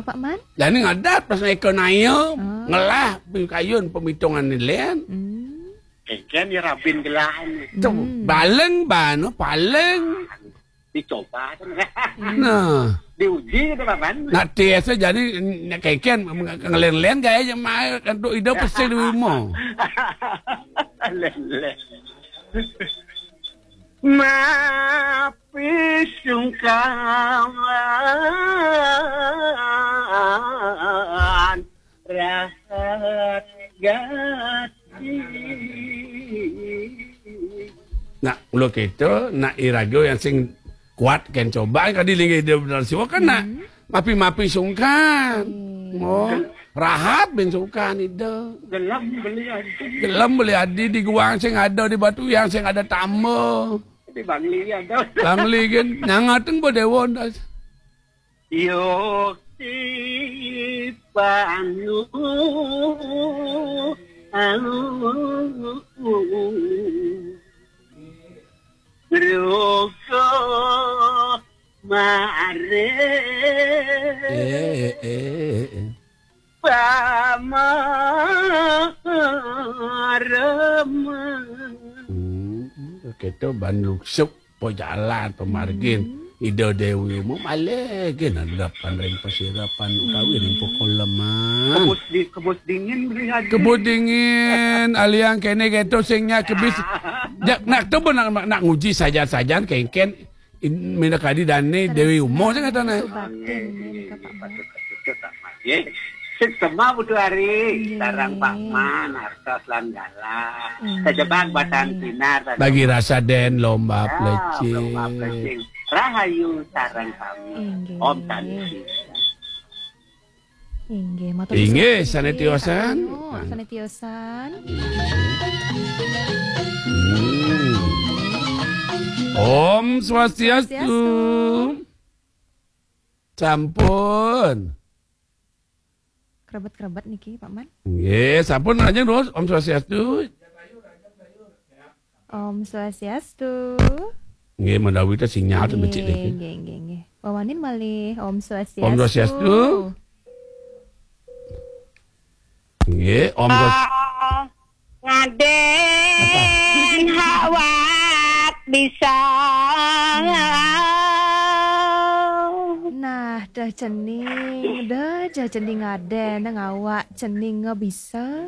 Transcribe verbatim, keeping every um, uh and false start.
Pak Man? Jani ngadat pas naik ke naya, ngelah kayun pemitungan ni len. Hmm. Kengken ya rabin gelahan. Tu, hmm, baleng bano, paling. Dicoba tu. Nah. Diuji tu, Pak Man. Nak tes tu jadi, nak kengken, ngelen-len gaya je mai, kan tu ida pesen di rumah. Len-len. Mapi sungkawan rahat gati. Nak, lo kita, nak iraga yang sing kuat kan coba, kadi linggih dia benar siwa kan nak. Hmm. Mapi-mapi sungkan. Hmm. Mo, rahat bin sungkan ida. Gelem beli adi. Gelem beli adi di guang sing ada, di batu yang sing ada tambah. Di Bangli ada. Bangli kan, nyangateng bo dewa ndas. Yuk di panu. Ruko mare. Eh, eh, eh, eh. Pamareman. Hmm, kita ban luksuk, po jalan, po margin. Hmm. Ida Dewi Uma malih gin handapan ring pasirapan utawi ring pakoleman. Kebus di-, kebus dingin beli haji. Kebus dingin, aliang kene keto sing nya kebis. Ja, nak tu pun nak, nak nguji sajan-sajan kengken. In-, minakadi dane Dewi Uma sing katane. Subatin, nggih, Pak Man. Nggih. Sik sema Putu Ari, nggih, sareng Pak Man, artos lan galah. Nggih. Kejebak batang sinar, bagi rasa den lomba plecing. Lomba plecing. Rahayu sareng sami. Nggih. Om Santi. Inggih, matur suwun. Inggih, sané tiosan. Sané tiosan. Hmm. Om Swastiastu. Swastiastu. Sampun. Krebet-krebet niki, Pak Man. Nggih, sampun, lajeng terus. Om Swastiastu. Om Swastiastu. Nggih, menawi ta sinyal ten becik niki. Nggih, nggih, nggih. Wawanin malih. Om Swastiastu. Om Swastiastu. Nggih, Om Swas- Ah, ngaden awak bisa. Nah, dah cening, dah jah cening ngaden, dah ngawak cening nggak bisa.